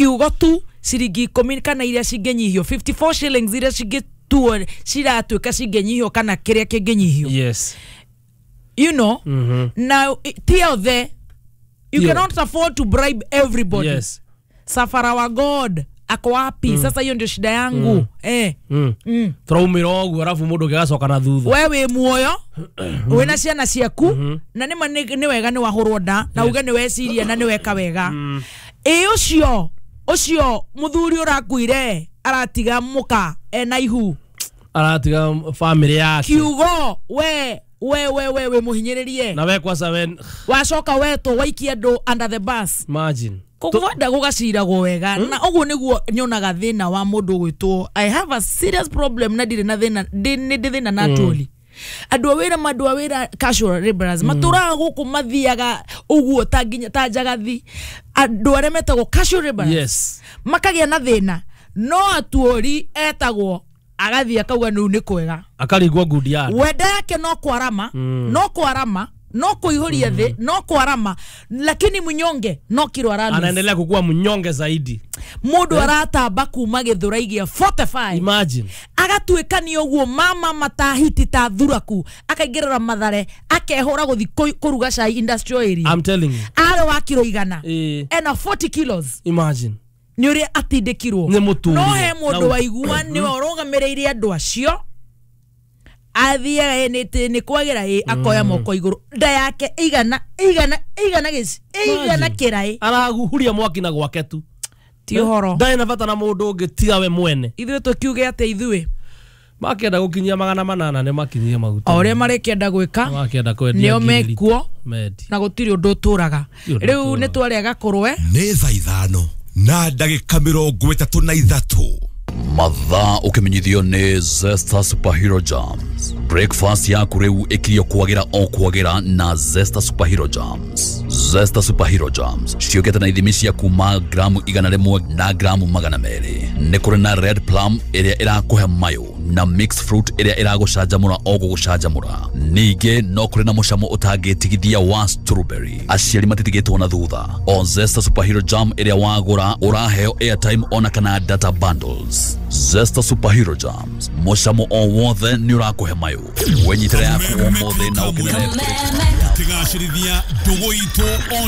Kiugo tu ciringi 10 kana iria cingĩnyihio, 54 shillings iria cingĩtuo ciratuĩka cingĩnyihio kana kĩrĩa kĩngĩnyihio. Now ti othe, you cannot afford to bribe everybody. Safara wa God ako wapi? Sasa hiyo ndio shida yangu. Tũraumĩra ũguo arabu mũndũ ũngĩ agacoka na thutha. We wĩ muoyo, wĩna ciana ciaku, na nĩma nĩ wega nĩ wahũrwo nda na uge nĩ weciria na nĩ weka wega. Ĩ ũcio ũcio mũthuri ũrakuire aratiga mũka ena ihu, aratiga family yake. Kiugo we we we we wĩ mũhinyĩrĩrie. Na we kwanza we wacoka wetwo waikia andũ under the bus. Imagine. Kũgwenda gũgaciragwo wega, na ũguo nĩguo nyonaga thĩna wa mũndũ ũgwĩtwo, I have a serious problem, na ndirĩ na thĩna, nĩ ndĩ thĩna na atũri andũ a wĩra, andũ a wĩra casual laborers matũraga gũkũ, mathiaga ũguo ta nginya ta njagathi, andũ arĩa metagwo casual laborers makagĩa na thĩna, no atuori etagwo agathiĩ akauga nĩu nĩ kwega. Akarigwo ngundi ya wenda yake no kwarama, no kwarama, no kuihuria thĩ, no kwarama, lakini mnyonge no kiro aralu. Anaendelea kukua mnyonge zaidi. Mundu aratamba kuma Githurai gia 45, Imagine. agatuĩka nĩ ũguo mama matahiti ta thuraku, akaingĩrĩra Mathare, akehũra gũthi kũruga cai industrial area. I'm telling you. Arĩ wa kiro 100, ena 40 kilos. Imagine. Nĩ ũrĩa atindĩkirwo. Nĩ mũtũrĩre. No he mũndũ waigua nĩwe ũrũgamĩrĩire andũ acio, athiaga nĩ kwagĩra ĩ akoya moko igũrũ, nda yake igana igana igana gĩci igana Imagine. kĩraĩ. Arahuhuria mwaki na gwake tu. Ti ũhoro. Ndarĩ na bata na mũndũ ũngĩ tiga we mwene. Ithuĩ tũkiuge atĩ ithuĩ makĩenda gũkinyia 800 nĩ makinyie maguta. O ũrĩa marĩkĩenda gwĩka makĩenda kwendia nĩo ngiri mekuo. Mendi. Na gũtirĩ ũndũ ũtũraga. Gũtirĩ ũndũ Rĩu ũtũraga. nĩ twarĩa gakũrwe. Nĩ thaa 5:33. Mathaa ũkĩmenyithio nĩ Zesta Superhero Jams. Breakfast yaku rĩu ĩkirio kwagĩra o kwagĩra na Zesta Superhero Jams. Zesta Superhero Jams ciũkĩte na ithimi cia kuma gramu 100 na gramu 200. Nĩ kũrĩ na red plum ĩrĩa ĩrakũhe mayũ na mixed fruit ĩrĩa ĩragũcanjamũra o gũgũcanjamũra. Ningĩ no kũrĩ na mũcamo ũtangĩtigithia wa strawberry. Aciari matitigĩtwo na thutha. O Zesta Superhero Jam ĩrĩa wagũra ũraheo airtime ona kana data bundles. Zesta Superhero Jams, mũcamo o wothe nĩ ũrakũhe mayũ. Wenyitĩre yaku ũmũthĩ na ũkenere. Tũgacĩrithia ndũgũ itũ.